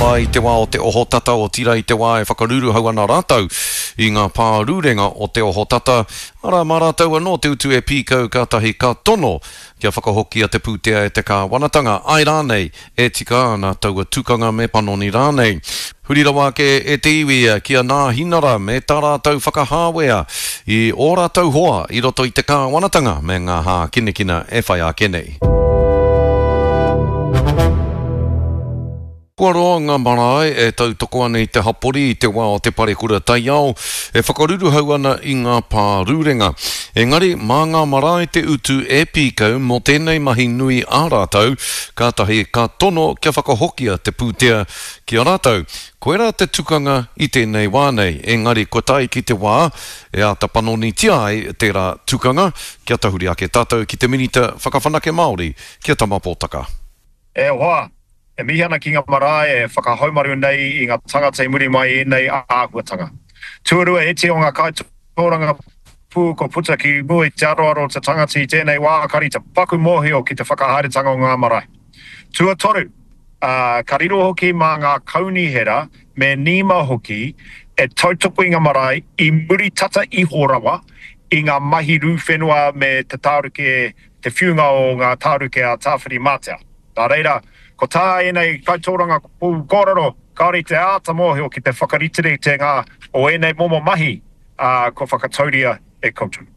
marae i te wā o te ohotata, otirā i te wā e whakaruruhau ana rātou i ngā pārurenga o te ohotata, arā, mā rātou anō te utu e pīkau kātahi ka tono kia whakahokia te pūtea e te kāwanatanga, āe rānei, e tika ana taua tukanga me panoni rānei. Huri rawa ake e te iwi ki a Nāhinara me tā rātou whakahāwea i ō rātou hoa i roto i te kāwanatanga me ngā hākinakina e whai ake nei. Kua roa ngā marae e tautoko ana i te hapori i te wā o te parekura taiao e whakaruruhau ana i ngā pārurenga. Engari, mā ngā marae te utu e pīkau mō tēnei mahi nui a rātou, kātahi ka tono kia whakahokia te pūtea ki a rātou. Koirā te tukanga i tēnei wā nei, engari kua tae ki te wā e āta panonitia ai tērā tukanga, kia tahuri ake tātou ki te Minita Whakawhanake Māori, ki a Tama Potaka. E hoa, e mihi ana ki nga marae e whakahaumaru nei i nga tangata i muri mai i enei āhuatanga. Tuarua, iti o nga kaitōrangapū kua puta ki mua i te aroaro o te tangata i tēnei wā kari te paku mōhio ki te whakahaeretanga o ngā marae. Tuatoru, ka riro hoki mā ngā kaunihera me NEMA hoki e tautoko i nga marae i muri tata iho rawa i nga mahi rū whenua me te tāruke, te whiunga o ngā tāruke a Tāwhirimātea. Nā reira, ko tā ēnei kaitōrangapū kōrero, kāore i te āta mōhio ki te whakariteritenga o ēnei momo mahi, ā, kua whakatauria e koutou.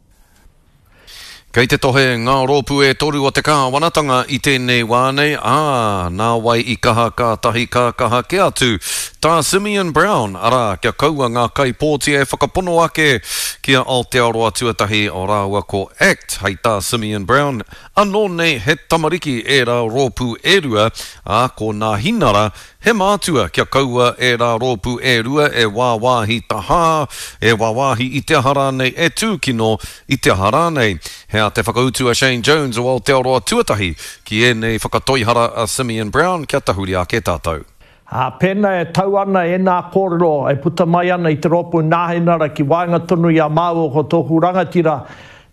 Kei te tohe ngā rōpū e toru o te kāwanatanga i tēnei wā nei, ā, nā wai i kaha kātahi ka kaha kē atu tā Simeon Brown, arā, kia kaua ngā kaipōti e whakapono ake ki a Aotearoa Tuatahi rāua ko act, hei tā Simeon Brown, Anō nei he tamariki ērā rōpū e rua, ā, ko Nāhinara he mātua kia kaua ērā rōpū e rua e wāwāhi tahā, e wāwāhi i te aha rānei, e tūkino i te aha rānei. He ā te whakautu a Shane Jones o Aotearoa Tuatahi ki ēnei whakatoihara a Simeon Brown kia tahuri ake tātou. Ā, pēnā e tau ana ēnā kōrero e puta mai ana i te rōpū Nāhinara ki waenga tonu i a māua ko tōku rangatira,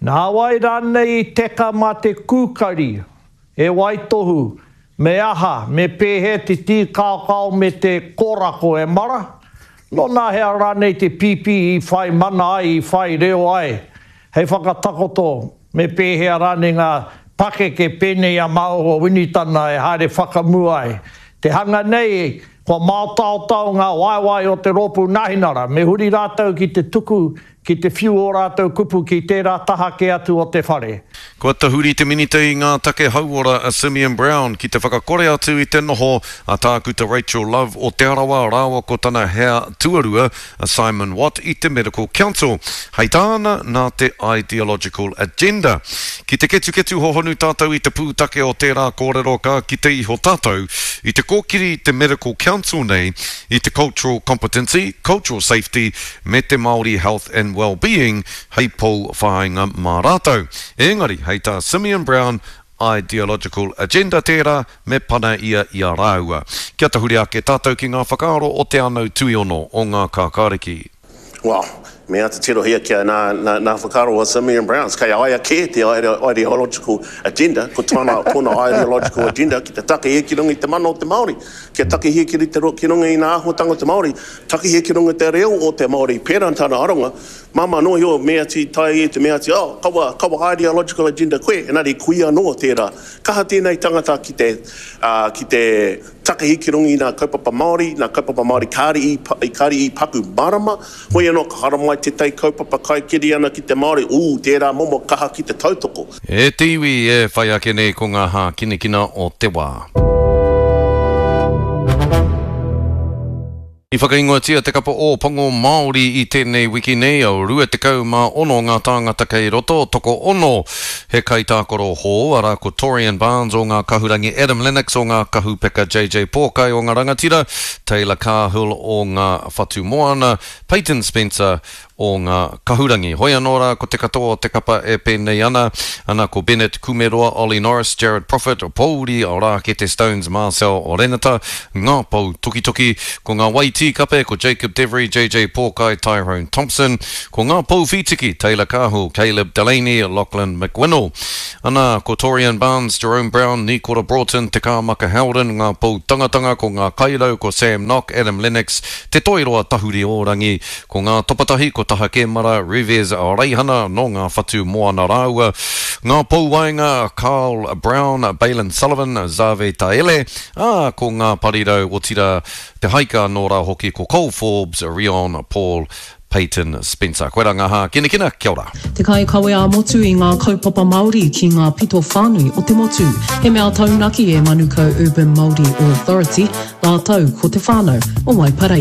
nā wai rānei i teka mā te kūkari, e waitohu, me aha, me pēhea te tīkaokao me te kōrako e mara? Nōnahea rānei te pīpī i whai mana ai, i whai reo ai, hei whakatakoto Me pēhea rānei ngā pakeke pēnei a Maoho Winitana e haere whakamua ai? Te hanga nei, kua māotaotao ngā waewae o te rōpū Nāhinara, me huri rātou ki te tuku, ki te whiu ō rātou kupu ki tērā taha kē atu o te whare. Kua tahuri te Minita i ngā Take Hauora a Simeon Brown ki te whakakore atu i te noho a Tākuta Rachel Love o Te Arawa rāua ko tana hea tuarua a Simon Watt i te Medical Council. Hei tāna, nā te ideological agenda. Ki te ketuketu hohonu tātou i te pūtake o tērā kōrero ka kite iho tātou i te kōkiri te Medical Council nei i te cultural competency, cultural safety me te Māori health and well-being hei pou whāinga mā rātou. Engari, hei tā Simeon Brown, Ideological agenda tērā, me pana ia i a rāua. Kia tahuri ake tātou ki ngā whakaaro o Te Anau Tuiono o Ngā Kākāriki. Well, me āta tirohia kia nā, nā, nā whakaaro a Simeon Browns, kei a ia kē te ideological agenda, ko tana, tōna ideological agenda ki te takahia ki runga i te mana o te Māori, kia takahia ki, te, ki runga i ngā āhuatanga o te Māori, takahia ki runga i te reo o te Māori, pērā tana aronga, Māmā noa iho meati tae e te meati, oh, kaua, kaua ideological agenda koe, engari koia anō tērā. Kaha tēnei tangata ki te, ā, ki te takahi ki runga i ngā kaupapa Māori, ngā kaupapa Māori kāre i, kāre i paku mārama, hoi anō ka haramai tētahi kaupapa kaikiri ana ki te Māori, ū, tērā momo kaha ki te tautoko. E te iwi e whai ake nei ko ngā hākinakina o te wā. I whakaingoatia te kapa Ōpango Māori i tēnei wiki nei, 26 ngā tāngata kei roto, tokoono he kaitākaro hou, arā ko Torian Barnes o ngā Kahurangi, Adam Lennox o ngā Kahupeka, JJ Pōkai o ngā Rangatira, Taylor Cahill o ngā Whatumoana, Peyton Spencer. o ngā kahurangi. Hoi anō rā ko te katoa o te kapa e pēnei ana, ana ko Bennett Kumeroa, Ollie Norris, Jared Proffitt, Pōuri Rākete Stones, Marcel Renata, ngā pou tukituki, ko ngā wai tīkape ko Jacob Devery, JJ Pōkai, Tyrone Thompson, ko ngā pou whītiki, Taylor Cahill, Caleb Delaney, Lachlan McWinnell. Ana, ko Torian Barnes, Jerome Brown, Nikora Broughton, Te Kāmaka Howden, ngā pou tangatanga, ko ngā kairau, ko Sam Nock, Adam Lennox, Te Toiroa Tahuri-o-rangi, ko ngā topatahi, ko Taha Kemara, Revez Reihana, nō ngā whatu moana rāua, ngā pou waenga, Carl Brown, Bailyn Sullivan, Zave Taele, ā, ko ngā parirau, otirā, te haika anō rā hoki, ko Cole Forbes, Rion Paul, Peyton Spencer. Koirā ngā hākinakina, kia ora. Te kaikawe ā-motu i ngā kaupapa Māori ki ngā pito whānui o te motu. He mea taunaki e Manukau Urban Māori Authority rātou ko te whānau o Waipareira.